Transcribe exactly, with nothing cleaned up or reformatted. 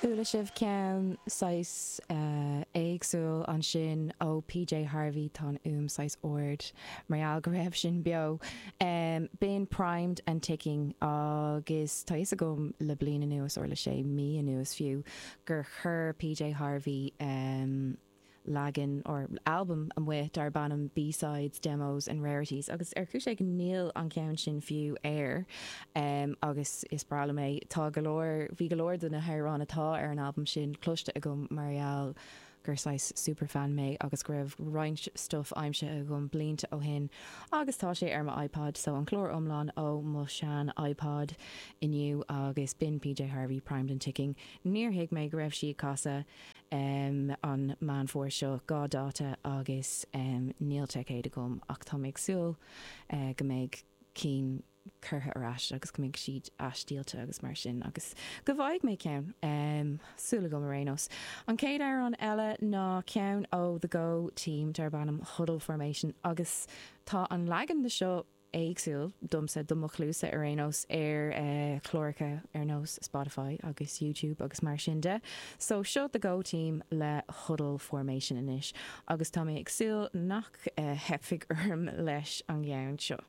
Chuala sibh ceann saghas éagsúil ansin ó PJ Harvey tá an fhuaim saghas ard mar gheall go raibh sin beo. B'in Primed and Ticking agus tá fhios agam le bliain anuas or le sé mí anuas fiú gur chuir PJ Harvey leagan or albam amuigh darb ainm B-sides, demos and rarities agus ar chúis éigin níl an ceann sin fiú air um, agus is breá liom é tá go leor bhí go leor de na hamhráin atá ar an albam sin cloiste agam mar gheall gur saghas superfan mé agus go raibh roinnt stuff aimsithe agam blianta ó shin agus tá sé ar mo iPod so an clár iomlán ó mo shean iPod inniu agus b'in PJ Harvey Primed and Ticking. Níor thuig mé go raibh sí ag casadh um, an Meán Fómhair seo dhá dáta agus um, níl ticéad agam ach tá mé ag súil uh, go mbeidh cinn curtha ar ais agus go mbeidh siad athdhíolta agus mar sin agus go bhfaighidh mé ceann um, súil agam ar aon nós. An chéad amhrán eile ná ceann ó The Go Team darb ainm Huddle Formation agus tá an leagan de seo éagsúil domsa do mo chluasa ar aon nós ar uh, chláracha ar nós Spotify agus YouTube agus mar sin de. So seo The Go Team le Huddle Formation anois agus tá mé ag súil nach uh, theipfidh orm leis an gceann seo.